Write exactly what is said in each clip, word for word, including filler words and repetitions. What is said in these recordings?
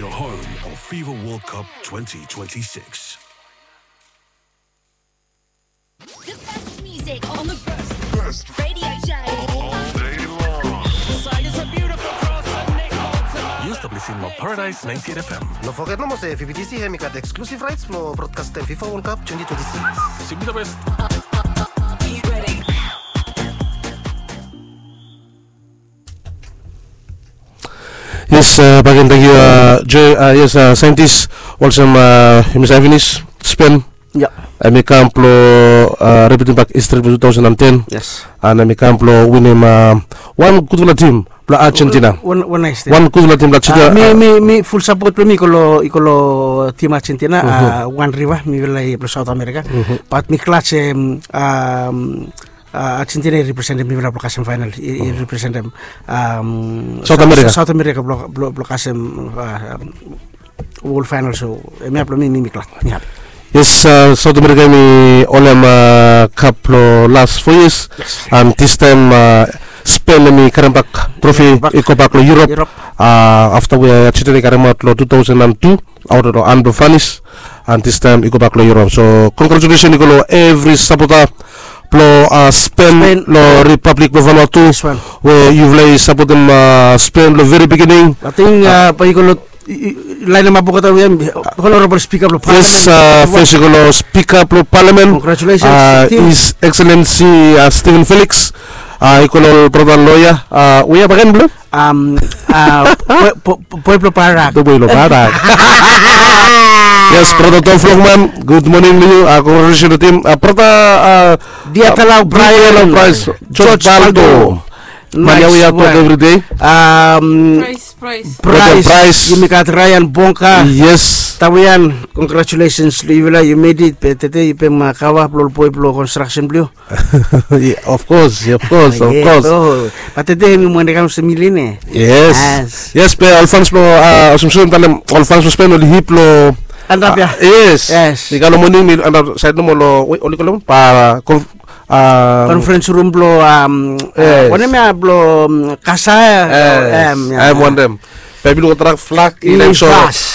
Your home of FIFA World Cup twenty twenty-six. The best music on the best radio show all day long. It's a beautiful cross and Nick Bolton. Yes, tablesin long Paradise ninety-eight F M. No foget nomo se F B T C hemi gat exclusive rights blong broadcastem FIFA World Cup twenty twenty-six. Simply the best. Yes, uh, bagen tangkiu, uh, Joe, uh, yes, uh, saintis, olsem, uh, yumi save finis, Spen. Ya. Hemi kam blong, uh, repeating bak history blong two thousand and ten. Yes. And hemi kam blong winim, uh, wan gudfala tim blong Argentina. Wan, wan nais tim. Wan gudfala tim blong Argentina. Uh, mi, uh, mi, mi full support blong mi i go long, i go long tim Argentina, uh, wan riva, mifala i blong South America. But mi glad se, um, um, uh, Argentina i representem mifala blong kasem final, i, i representem, um, South America. South America blong, blong, blong kasem, uh, um, World Final, so hemia blong mi, mi, mi glad, mi hapi. Yes, uh, South America hemi holem, uh, cup long last four years. Yes. And this time, uh, Spain hemi karem bak trophy, i go bak long Europe. Europe. Uh, afta we Argentina i karemaot long two thousand and two, aot long han blong France, and this time i go bak long Europe. So congratulations i go long evri sapota blong, uh, Spain, Spain, long Republic blong Vanuatu, we yufala i sapotem, uh, Spain long veri beginning. Ating, uh, bae i go long i, i, laenemap olgeta we hem, honorable speaker blong parliament. Yes, uh, fes i go long speaker blong parliament. Congratulations, uh, team. His Excellency, uh, Stephen Felix. Uh, i go long brata loya, uh, we ya bagen blong hem? Um, uh, boe, boe, boe blong barak. Boe blong barak. Yes, brata Tom Flogman, good morning long yu. Uh, congratulations long tim. Uh, brata, uh, Diatalau, uh, Brian, Diatalau, Bryce, George, George Baldo. Baldo. Mani we ya tok evri dei. Um, Price, Price. Brata Price, Price. Yumi gat Ryan Bonka. Yes. Tawian, congratulations long yufala, you made it. Be tede yu pem, uh, kava blong ol boe blong construction blong yu. Yeah, of course, of course, of course. But tede mi wantem kam se mi lin ya. Yes. Yes, be ol fans blong, uh, olsem mi talem, ol fans blong Spain oli hip long, uh, yes. Yes. Mi kam long moning mi another side nomo long, we, oli kolem, pa, uh, conference room blong, um, uh, wanem ya blong, um, Kasa, um, ya. Hem wantem. Bae mi luk olgeta flag i hem, so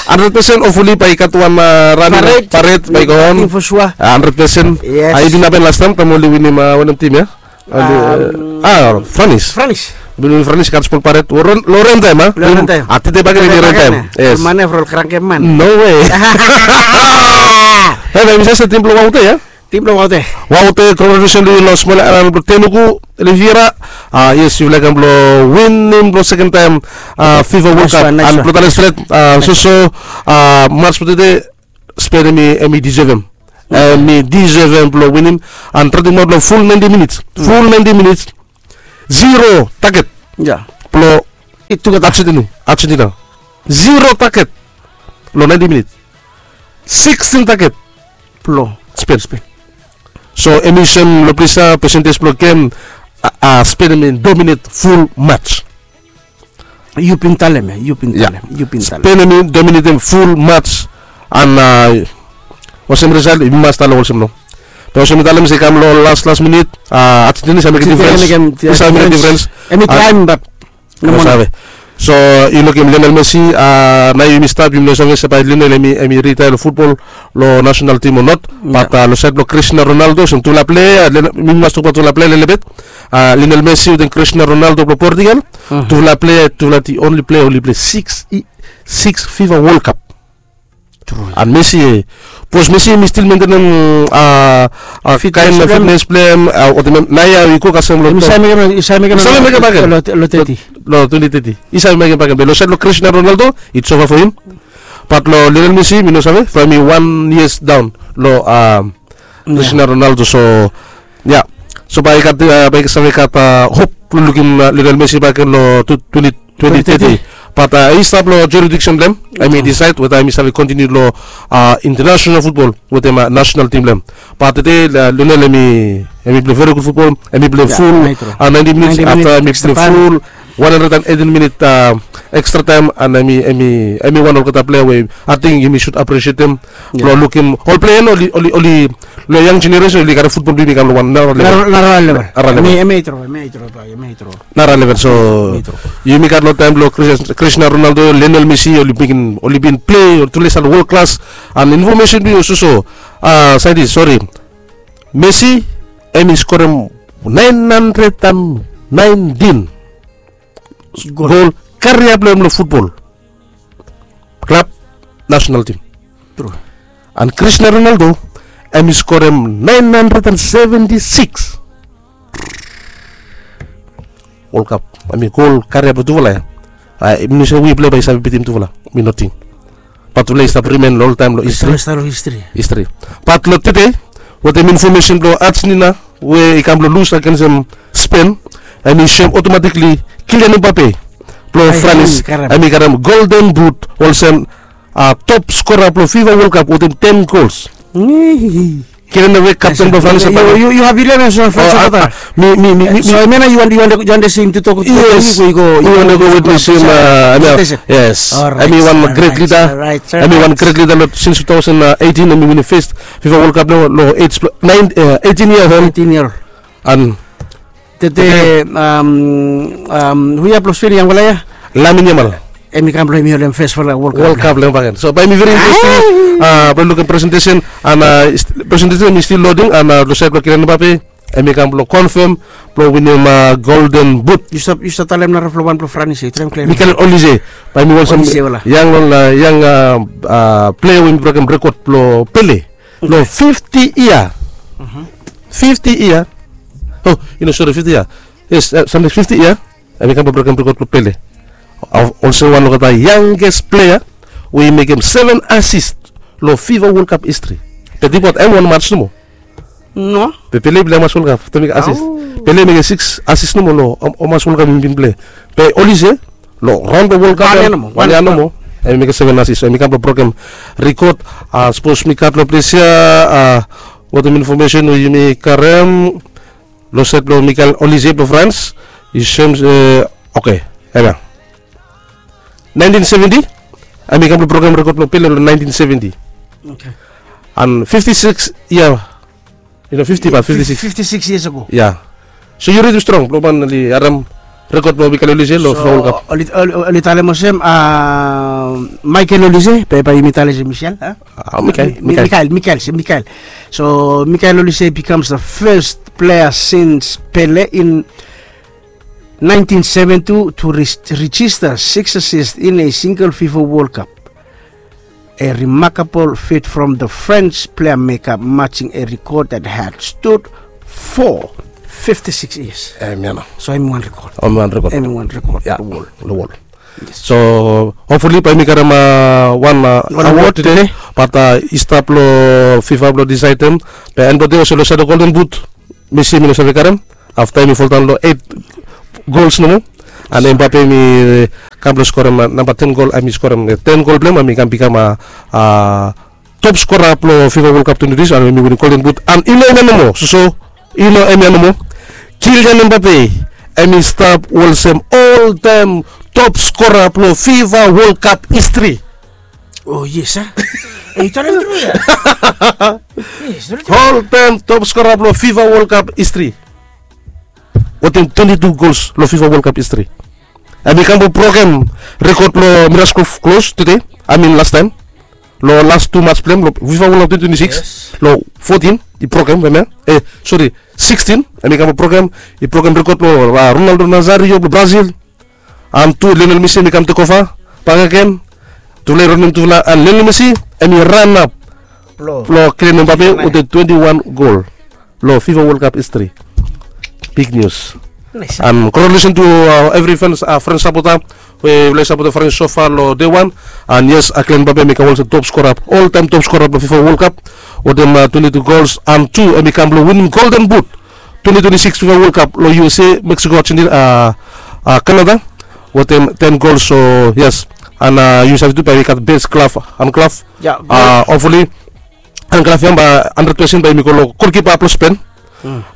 hundred percent, hopefully bae i gat wan, uh, running parade bae i go on. Parade, for sure. Uh, hundred percent. Yes. Uh, i bin hapen lastaem taem oli winim, uh, wanem tim ya? Oli, uh, ah, France. France. Bin winim France, gat smol parade. Long ren taem, a? Long ren taem. Ah, tede bagen i ren taem. Yes. Mane from Krankeman. No way. Hey, bae mi save se tim blong Waute ya? Tim blong Waute. Waute, congratulations long yu long smol aelan blong Tenuku, Oliveira. Ah, yes, yufala i kam blong winim blong seken taem, ah, FIFA World Cup. Nice one, nice one. And blong talem stret, ah, soso, ah, mats blong tede, Spain hemi, hemi deservem. Hemi deservem blong winim. And traem maot long full ninety minutes. Full ninety minutes. Zero target. Ya. Blong Argentina. Argentina. Zero target. Long ninety minutes. Sixteen target. Blong Spain. Spain. So, hemi sem long ples ya, percentage blong gem, ah, ah, Spain hemi dominate full match. Yu bin talem ya, yu bin talem, yu bin talem. Spain hemi dominatem full match, and, ah, olsem result, i mas talem olsem no. Be olsem mi talem se i kam long las, las minit, ah, Argentina i save mekem diferens. I save mekem diferens. Hemi taem, but no moa. So, yu lukim Lionel Messi, ah, nao yumi stat, yumi no save se bae Lionel hemi, hemi retire long futbol, long national team o not. But, ah, long saed blong Cristiano Ronaldo, olsem tufala plea, mi mas tokbaot tufala plea lelebet. Ah, Lionel Messi wetem Cristiano Ronaldo blong Portugal. Tufala plea, tufala the only player oli plei six, six FIFA World Cup. True. And Messi, eh, bikos Messi hemi stil mentenem, ah, ah, kaen fitnes blong hem, ah, wetem hem, nao ya i go kasem long, i save mekem bakegen long teti. Long twenty thirty. I save mekem bakegen. Be long saed long Cristiano Ronaldo, it's over for him. But long Lionel Messi, mi no save, from hemi wan years down long, ah, Cristiano Ronaldo. So, ya. So bae i gat, ah, bae i save gat, ah, hop blong lukim, ah, Lionel Messi bakegen long twenty, twenty thirty. But, ah, i stap long jurisdiction blong hem. Hemi decide weta hemi save continue long, ah, international football wetem, ah, national team blong hem. But tede, ah, Lionel hemi, hemi plei very good football. Hemi plei full, ah, ninety minutes. Afta hemi plei full one hundred and eighteen minute, ah, extra time, and hemi, hemi, hemi wan olgeta plea we ating yumi should appreciatem blong lukim ol plea ya oli, oli, oli Long yang jeneresen oli gat futbol blong yumi i kam long wan nara level. Nara level. Nara level. Nara level. So yumi gat long taem blong Cristiano Ronaldo, Lionel Messi oli bin plei, oli stap world class. And information blong yu soso, saintis, sori, Messi em i skorem naen handred and naentin gol karia blong hem long futbol klab, nasenal tim. And Cristiano Ronaldo em i skorem naen handred and seventi siks World Cup. Em i gol karia blong tufala ya. Mi se we plei bae i save bitim tufala. Mi nating. Bat tufala i stap rimen long oltaem long histri. Bat long tede, wetem infomesen blong Argentina we i kam blong lus agensem Spen, em i soem otomatikli Kylian Mbappe blong Franis em i karem Golden Boot olsem top skora blong FIFA World Cup wetem ten gols. Kylian Mbappe, kapten blong Franis. Yu hapi long hem as a Franis sapota? Mi, mi, mi, mi. So hemia nao yu wantem, yu wantem go witnesim. Yes. Em i wan gret lida. Em i wan gret lida long sins tu taosen eitin em i winim fes FIFA World Cup long ej blong eitin yia ol. An tede, hu ya blong Spen, yangfala ya? Lamine Yamal. Em i kam blong hem i holem fesfala World Cup long hem bakegen. So bae i veri interesting blong lukim presentesen. An presentesen i stil loding an long saed blong Kylian Mbappe, em i kam blong konfem blong winim Golden Boot. Yu stap talem narafala wan blong Franis ya, yu traem klia. Michael Olise. Bae mi olsem yang long yang plea we i brokem rekod blong Pele long fifti yia. Fifti yia. O, yu no, sori, fifti yia. Yes, samting fifti yia. Em i kam blong brokem rekod blong Pele. Olsem wan long olgeta yangest plea we i mekem seven asis long FIFA World Cup histri. Be ting baot hem, wan mats nomo. No. Be Pele i plei hamas World Cup afta mekem asis? Pele i mekem siks asis nomo long hamas World Cup i bin plei. Be Olise long raon blong World Cup wan yia nomo, em i mekem seven asis. Em i kam blong brokem rekod. Sapos mi gat long ples ya wetem infomesen we yumi karem long saed blong Michael Olise blong Frans, i soem se, oke, hemia. Naentin seventi, em i kam blong brokem rekod blong Pele long naentin seventi. An fifti siks yia, yu no, fifti, bat fifti siks. Fifti siks yias ago. Ya. So yu redi strong blong man oli harem rekod blong Michael Olise long FIFA World Cup? Oli talem olsem Michael Olise, be bae yumi talem se Michel, a? Michael, Michael. Michael, se Michael. So Michael Olise becomes the first player since Pele in nineteen seventy-two to re- register six assists in a single FIFA World Cup. A remarkable feat from the French player maker, matching a record that had stood for fifty-six years. Em ya nao. So em i wan rekod. Em i wan rekod. Em i wan rekod. Ya, long wol. Long wol. Yes. So hopefully bae mi karem wan award tede. Bat i stap long FIFA blong disaedem. Be en blong tede olsem long saed long Golden Boot, Messi mi no save karem afta em i foldaon long eit gols nomo. An Mbappe mi kam blong skorem namba ten gol, em i skorem ten gol blong hem, em i kam bikam a top skora blong FIFA World Cup twenti twenti, an em i winim Golden Boot. An i no hemia nomo, soso, i no hemia nomo. Kylian Mbappe em i stap olsem oltaem top skora blong FIFA World Cup histri. O yes a. Yu talem tru ya. Yes, tru. Oltaem top skora blong FIFA World Cup histri wetem twenti tu gols long FIFA World Cup histri. Em i kam blong brokem rekod blong Miroslav Klose tede, I mean lastaem, long las tu mats blong hem long FIFA World Cup twenti twenti sikis. Long fotin i brokem, hemia, e sori, sikstin, em i kam blong brokem, i brokem rekod blong Ronaldo Nazario blong Brazil. An tu Lionel Messi em i kam tekova bakegen. Tufala i ronem tufala, an Lionel Messi em i ranap long Kylian Mbappe wetem twenti wan gol long FIFA World Cup histri. Big nius. An congratulations to evri Frans sapota we yufala i sapotem Frans so fa long dei wan. An yes, Kylian Mbappe em i kam olsem top skora, oltaem top skora blong FIFA World Cup wetem twenti tu gols. An tu em i kam blong winim Golden Boot twenti twenti sikis FIFA World Cup long USA, Mexico, Argentina, Canada wetem ten gols. So yes, an yu save tu bae i gat bes glove, han glove. Hopefully han glove ya bae handred pesen bae i go long golkipa blong Spen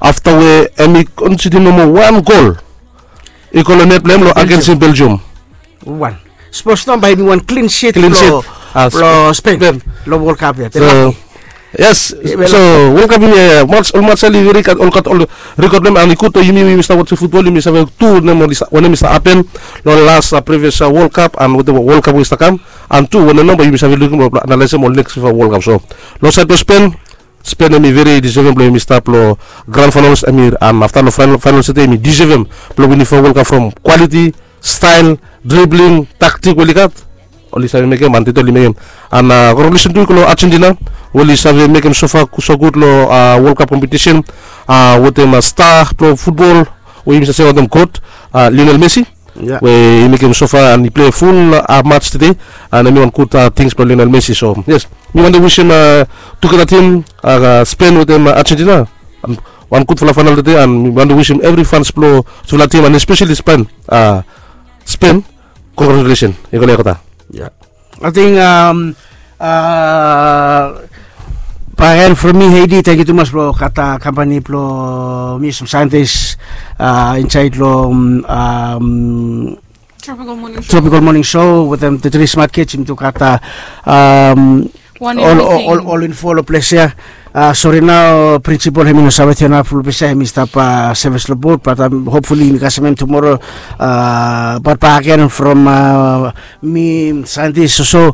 afta we em i konsidi nomo wan gol i go long net blong hem long agensem Belgium. Wan. Sapos nao bae i bin wan klin sit blong Spen long World Cup ya. Yes. So World Cup yumi, olmats oli rikot, oli rikot long hem, and i gud long yumi we yumi stap wasim futbol, yumi save tu wanem i stap hapen long las previous World Cup and wetem World Cup we i stap kam, and tu wanem nao bae yumi save lukim long analaesem ol next FIFA World Cup. So long saed blong Spen, Spen hemi veri disevem blong hemi stap long grand finals, hemi, and afta long finals tede hemi disevem blong winim FIFA World Cup from quality, style, dribbling, tactic we oli gat, oli save mekem and tede oli mekem. And congratulations tu i go long Argentina we oli save mekem sofa so gud long World Cup competition wetem star blong futbol we yumi save se wanem, goat, Lionel Messi, we i mekem sofa and i plei ful match tede. And hemi wan gud tings blong Lionel Messi. So yes, mi wantem wisim tugeta tim, Spen wetem Argentina, wan gudfala final tede, and mi wantem wisim evri fans blong tufala tim and especially Spen, Spen, congratulations. I go long yu, Kata. Ating bakegen from mi, Heidi, tangkiu tumas blong gat kampani blong mi, sam saentis insaed long Tropical Morning Show wetem the Three Smart Kids. Yumi tu gat ol info long ples ya. Sori nao, prinsipol hemi no save tonap long ples ya, hemi stap sevis long bot, bat hopfuli yumi kasem hem tumoro. Bat bakegen from mi, saentis, so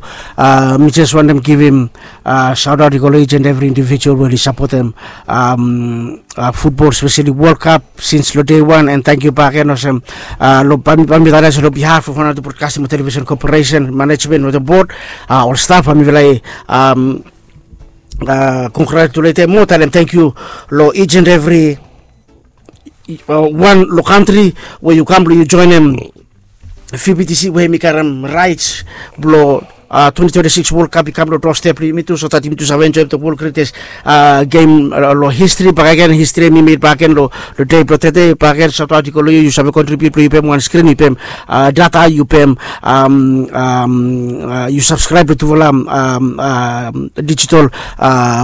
mi jes wantem givim saotaot i go long each and evri indivijual we oli sapotem futbol, speseli World Cup sins long dei wan. And tangkiu bakegen olsem long, bae mi tale olsem long bihaf of Vanuatu Broadcasting and Television Corporation management wetem bot, ol staf, bae mifala i kongratuletem mo talem tangkiu long each and evri wan long kantri we yu kam blong yu joenem V B T C we hemi karem raets blong twenty twenty-six World Cup i kam long doorstep blong yumi tu, so that yumi tu save enjoem the world greatest game long histri bakegen. Histri hemi med bakegen long dei blong tede. Bakegen saotaot i go long yu, yu save kontribiut blong yu pem wan skrin, yu pem data, yu pem yu sabskraeb long tufala dijital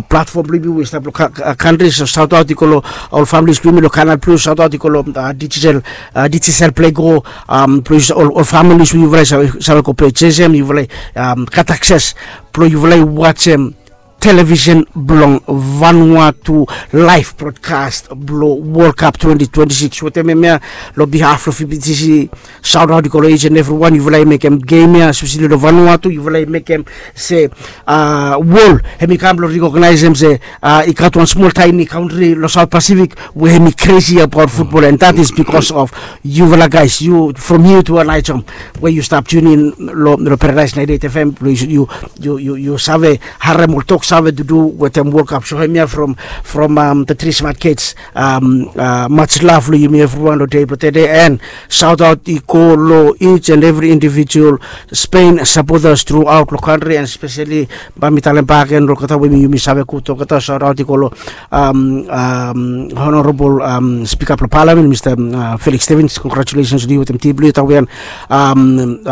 platfom blong yumi we i stap long kantri. So saotaot i go long ol familis blong yumi long Canal Plus, saotaot i go long dijital, dijital Play Go, blong ol familis we yufala i save go pe jesem, yufala i gat akses blong yufala i wajem televisen blong Vanuatu, laef brodkas blong World Cup twenty twenty-six. Wetem hemia, long bihaf blong V B T C, saotaot i go long each and evri wan. Yufala i mekem gem ya, espeseli long Vanuatu, yufala i mekem se wol hemi kam blong rekognaesem se i gat wan smol taeni kantri long South Pacific we hemi kresi abaot futbol, and that is because of yufala guys, yu from here to Aneityum, we yu stap tune in long Paradise ninety-eight F M, blong yu save harem ol tok save tudu wetem World Cup. So hemia from the Three Smart Kids, much love long yumi evriwan long dei blong tede, and saotaot i go long each and evri indivijual Spain sapotas truaot long kantri, and speseli bae mi talem bakegen long olgeta we yumi save gud olgeta. Saotaot i go long Honorabol Spika blong Palamen, Mista Felix Stevens, kongratulasens long yu wetem tim blong yu, Tawian.